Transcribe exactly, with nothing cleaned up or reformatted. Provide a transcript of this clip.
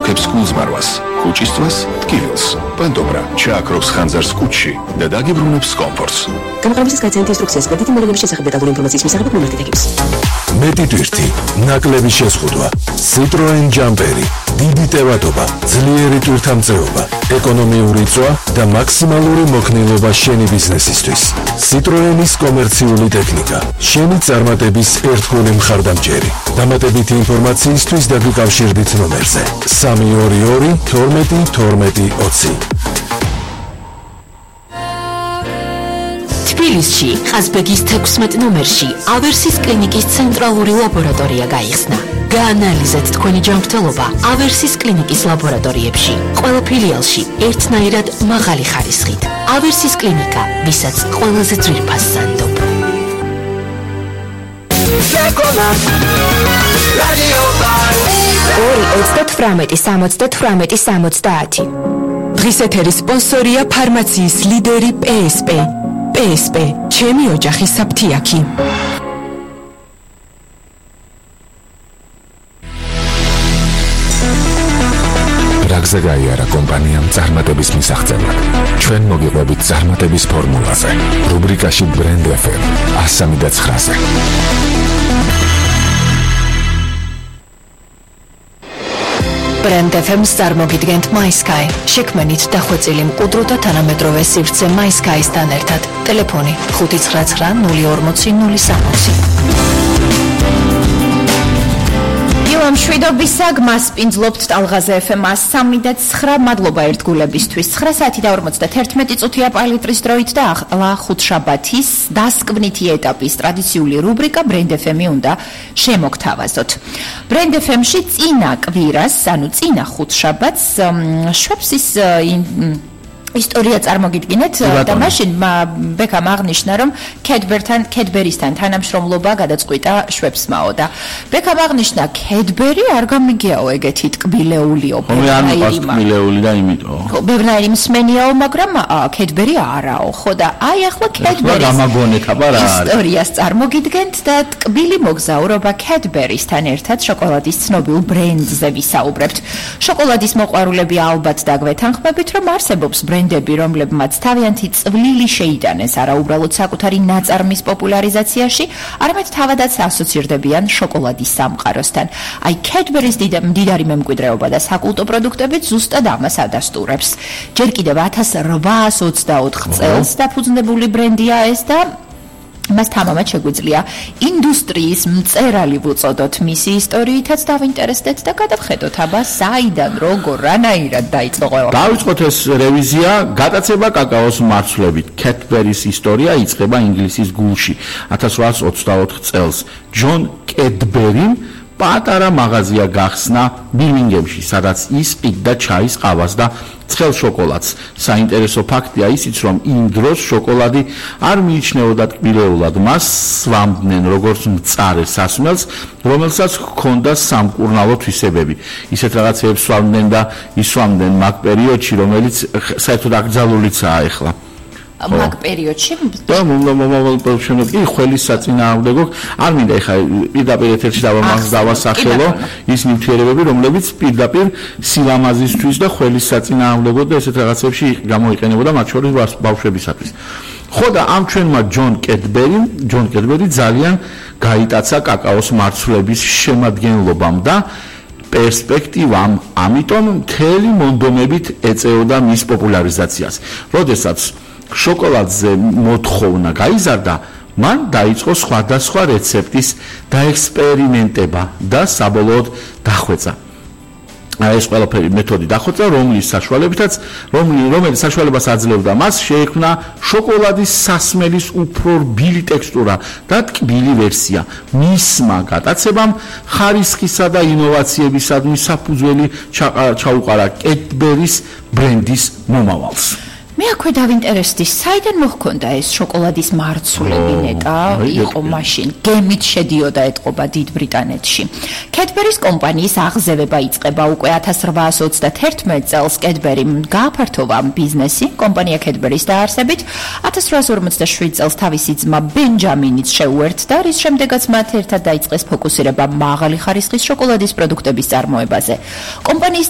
აჩუქებს გულზმარვას, კუჭისწვას ტკივილს, პანტობრა ჩააქრობს ხანძარს კუჭში და დაგიბრუნებს კომფორტს. გამყარებლის გაცემით ინსტრუქციას კრედიტი მოვლენების შესახებ დეტალური ინფორმაციის მისაღებად მიმართეთ ეკიპს. მეტი ტვირთი, ნაკლები შეზღუდვა, Citroen Jumperi, დიდი ტევადობა, ძლიერი ტვირთამწეობა, ეკონომიური წვა და მაქსიმალური მოქნილობა შენი ბიზნესისთვის. Citroenis კომერციული ტექნიკა, შენი წარმატების ერთგული მხარდამჭერი. დამატებითი ინფორმაციისთვის დაგიკავშირდით ნომერზე სამი ორი ორი თორმეტი თორმეტი ოცი. თბილისში, ყაზბეგის თექვსმეტ ნომერში ავერსის კლინიკის ცენტრალური ლაბორატორია გაიხსნა. გაანალიზეთ თქვენი ჯანმრთელობა ავერსის კლინიკის ლაბორატორიებში. ყველა ფილიალში ერთნაირად მაღალი ხარისხით. ავერსის კლინიკა, ვისაც ყველაზე ძვირფას სანდობ. ორი ოცდათვრამეტი სამოცდათვრამეტი სამოცდაათი. დღის ეთერის სპონსორია ფარმაციის ლიდერი პე ეს პე. პე ეს პე, ჩემი ოჯახის საფთიაქი. რაგზე გაიარა კომპანიამ წარმატების მისაღწევად. ჩვენ მოგიყვებით წარმატების ფორმულაზე. რუბრიკაში Brand ეფ ემ ათს და ცხრაზე. Brand ეფ ემ-ს წარმოგიდგენთ MySky. შექმნით დახვეწილი მკვდრო და თანამედროვე სივრცე MySky-სთან ერთად. ტელეფონი ხუთი ცხრა ცხრა ნული ორმოცი ნული სამოცი. ილამ შვიდობისა გმასპინძლობთ ტალღაზე ეფ ემ სამი და ცხრა. მადლობა ერთგულებისთვის. ცხრა საათი და ორმოცდათერთმეტი წუთია პალიტრის დროით და ახლა ხუთშაბათის დასკვნითი ეტაპის ტრადიციული რუბრიკა Brand ეფ ემი უნდა შემოგთავაზოთ. Brand ეფ ემ-ში წინა კვირას, ანუ წინა ხუთშაბათს შვებსის ისტორია წარმოგიდგინეთ და მაშინ ბექამ აღნიშნა რომ კედბერთან კედბერისთან თანამშრომლობა გადაწყვიტა შვებსმაო და ბექამ აღნიშნა კედბერი არ გამიგიაო ეგეთი ტკბილეულიო ტკბილეული და იმიტომ ბევრნაირი მსმენიაო მაგრამ კედბერი არაო ხო და აი ახლა კედბერის გამაგონეთ აბა რა არის ისტორიას წარმოგიდგენთ და ტკბილი მოგზაურობა კედბერისთან ერთად შოკოლადის ცნობილ ბრენდზე ვისაუბრებთ შოკოლადის მოყვარულები ალბათ დაგვეთანხმებით რომ არსებობს ბრენდები, რომლებმაც თავიანთი წვლილი შეიტანეს არა უბრალოდ საკუთარი ნაწარმის პოპულარიზაციაში, არამედ თავადაც ასოცირდებიან შოკოლადის სამყაროსთან. აი, კედბერის მდიდარი მემკვიდრეობა და საკულტო პროდუქტებით ზუსტად ამას ადასტურებს. ჯერ კიდევ ათას რვაას ოცდაოთხ წელს დაფუძნებული ბრენდია ეს და მას თამამად შეგვიძლია ინდუსტრიის მწერალი ვუწოდოთ მისი ისტორიითაც დავინტერესდეთ და გადავხედოთ აბა საიდან როგორ რანაირად დაიწყო ყველა. დავიწყოთ ეს რევიზია გატაცება კაკაოს მარცვლებით. კედბერის ისტორია იწყება ინგლისის გულში ათას რვაას ოცდაოთხ წელს. ჯონ კედბერიმ პატარა მაღაზია გახსნა ბირმინგემში, სადაც ის ყიდდა ჩაის ყავას და ცხელ შოკოლადს. საინტერესო ფაქტია ისიც, რომ იმ დროს შოკოლადი არ მიიჩნეოდა ტკბილეულად. მას სვამდნენ როგორც მწარე სასმელს, რომელსაც ჰქონდა სამკურნალო თვისებები. ისეთ რაღაცებს სვამდნენ და ისვამდნენ მაგ პერიოდში, რომელიც საერთოდ აკრძალულიცაა ახლა. მაგ პერიოდში და მომავალ პროფესიონალები ხელის საწინააღმდეგო არ მინდა ეხა პირდაპირ ეთერში დავასახელო ის ნივთიერებები რომლებიც პირდაპირ სილამაზისთვის და ხელის საწინააღმდეგო და ესეთ რაღაცებში გამოიყენებოდა მათ შორის ბავშვებისათვის. ხო და ამ ჩვენმა ჯონ კედბერიმ ჯონ კედბერი ძალიან გაიტაცა კაკაოს მარცვლების შემადგენლობამ და პერსპექტივამ, ამიტომ მთელი მონდომებით ეწეოდა მის პოპულარიზაციას. როდესაც შოკოლადზე მოთხოვნა გაიზარდა, მან დაიწყო სხვადასხვა რეცეპტის დაექსპერიმენტება და საბოლოოდ დახვეწა. ეს ყველაფერი მეთოდი დახვეწა, რომლის საშუალებითაც, რომელიც საშუალებას აძლევდა მას შეექმნა შოკოლადის სასმელის უფრო რბილი ტექსტურა და ტკბილი ვერსია. მისმა გატაცებამ ხარისხისა და ინოვაციებისადმი საფუძველი ჩაუყარა კედბერის ბრენდის მომავალს. მე აქვე დავინტერესდი, საიდან მოჰქონდა ეს შოკოლადის მარცვლები ნეტა იყო მაშინ, გემით შედიოდა ეთყობა დიდ ბრიტანეთში. კედბერის კომპანიის აღზევება იწყება უკვე ათას რვაას ოცდათერთმეტ წელს კედბერიმ გააფართოვა ბიზნესი, კომპანია კედბერის დაარსებით, ათას რვაას ორმოცდაშვიდ წელს თავისი ძმა ბენჯამინიც შეუერთდა, რის შემდეგაც მათ ერთად დაიწყეს ფოკუსირება მაღალი ხარისხის შოკოლადის პროდუქტების წარმოებაზე. კომპანიის